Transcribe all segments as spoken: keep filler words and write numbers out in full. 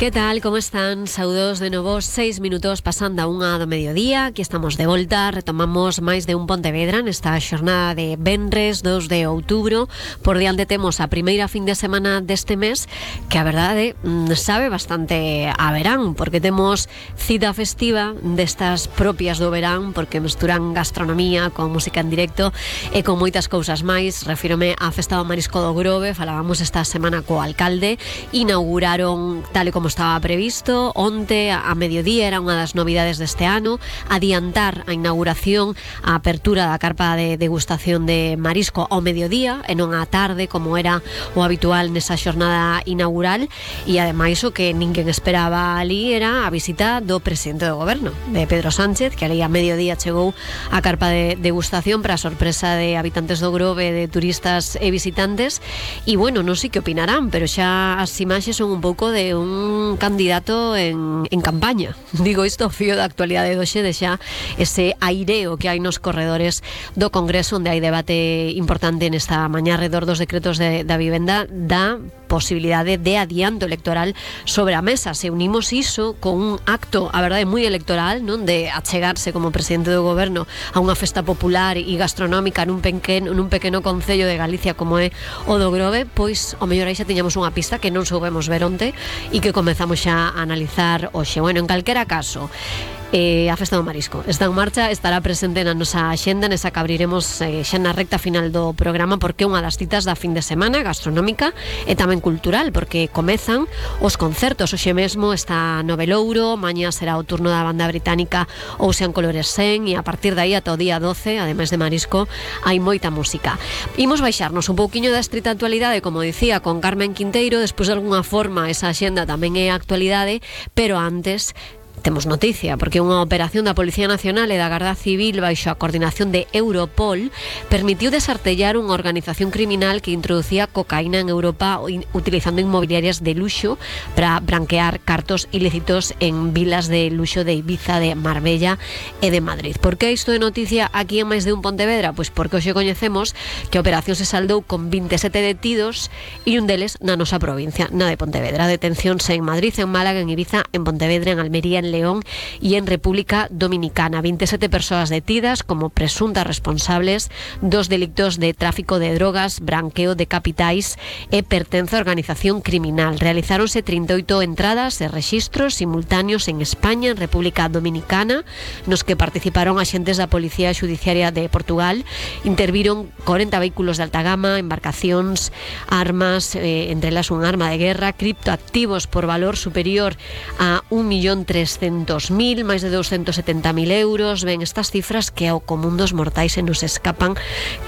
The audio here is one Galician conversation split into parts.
Que tal, como están? Saúdos de novo, seis minutos pasando a unha do mediodía. Aquí estamos de volta, retomamos máis de un Pontevedra nesta xornada de venres dos de outubro. Por diante temos a primeira fin de semana deste mes, que a verdade sabe bastante a verán, porque temos cita festiva destas propias do verán, porque mesturan gastronomía con música en directo e con moitas cousas máis. Refírome á Festa do Marisco do Grove. Falábamos esta semana co alcalde. Inauguraron tal e como estaba previsto onte a mediodía, era unha das novidades deste ano, adiantar a inauguración, a apertura da carpa de degustación de marisco ao mediodía e non á tarde como era o habitual nesa xornada inaugural. E ademais o que ninguén esperaba ali era a visita do presidente do goberno, de Pedro Sánchez, que ali a mediodía chegou a carpa de degustación para a sorpresa de habitantes do Grove, de turistas e visitantes. E bueno, non sei que opinarán, pero xa as imaxes son un pouco de un candidato en, en campaña. Digo isto fío da actualidade do xe, de xa ese aireo que hai nos corredores do Congreso, onde hai debate importante nesta mañá alrededor dos decretos de, da vivenda, da posibilidade de adianto electoral sobre a mesa. Se unimos iso con un acto, a verdade, moi electoral, non, de achegarse como presidente do goberno a unha festa popular e gastronómica nun pequeno, nun pequeno concello de Galicia como é o do Grove, pois o mellor aí xa tiñamos unha pista que non soubemos ver onte e que comezamos xa a analizar hoxe. Bueno, en calquera caso, Eh, a Festa do Marisco está en marcha, estará presente na nosa axenda, nesa que abriremos eh, xa na recta final do programa, porque é unha das citas da fin de semana gastronómica e tamén cultural, porque comezan os concertos. Hoxe mesmo está Novelouro, mañá será o turno da banda británica Ocean Colores Sen, e a partir de aí ata o día doce, ademais de Marisco, hai moita música. Imos baixarnos un pouquiño da estrita actualidade, como dicía, con Carmen Quinteiro. Despois de alguna forma esa axenda tamén é actualidade, pero antes temos noticia, porque unha operación da Policía Nacional e da Garda Civil baixo a coordinación de Europol permitiu desartellar unha organización criminal que introducía cocaína en Europa utilizando inmobiliarias de luxo para branquear cartos ilícitos en vilas de luxo de Ibiza, de Marbella e de Madrid. Por que isto é noticia aquí en máis de un Pontevedra? Pois porque hoxe coñecemos que a operación se saldou con vinte e sete detidos e un deles na nosa provincia, na de Pontevedra. Detencións en Madrid, en Málaga, en Ibiza, en Pontevedra, en Almería, en León e en República Dominicana. vinte e sete persoas detidas como presuntas responsables dos delictos de tráfico de drogas, branqueo de capitais e pertenza a organización criminal. Realizáronse trinta e oito entradas e rexistros simultáneos en España, en República Dominicana, nos que participaron axentes da Policía Xudiciaria de Portugal. Interviron corenta vehículos de alta gama, embarcacións, armas, eh, entre elas un arma de guerra, criptoactivos por valor superior a un millón trescentos mil, máis de doscientos setenta mil euros. Ben, estas cifras que ao común dos mortais se nos escapan,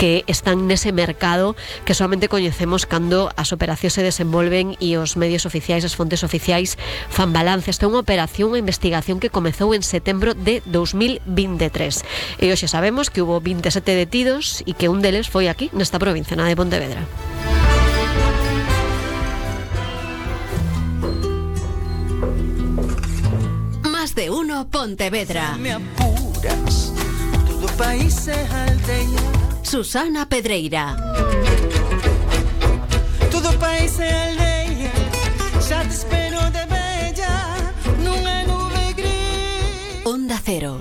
que están nese mercado que solamente coñecemos cando as operacións se desenvolven e os medios oficiais, as fontes oficiais fan balance. Esta é unha operación, unha investigación que comezou en setembro de dos mil veintitrés e hoxe sabemos que hubo vinte e sete detidos e que un deles foi aquí, nesta provincia, na de Pontevedra. De uno Pontevedra. Me apuras, todo país é aldeia. Susana Pedreira. Todo país é aldeia, xa te espero de bella, nunha nube gris. Onda Cero.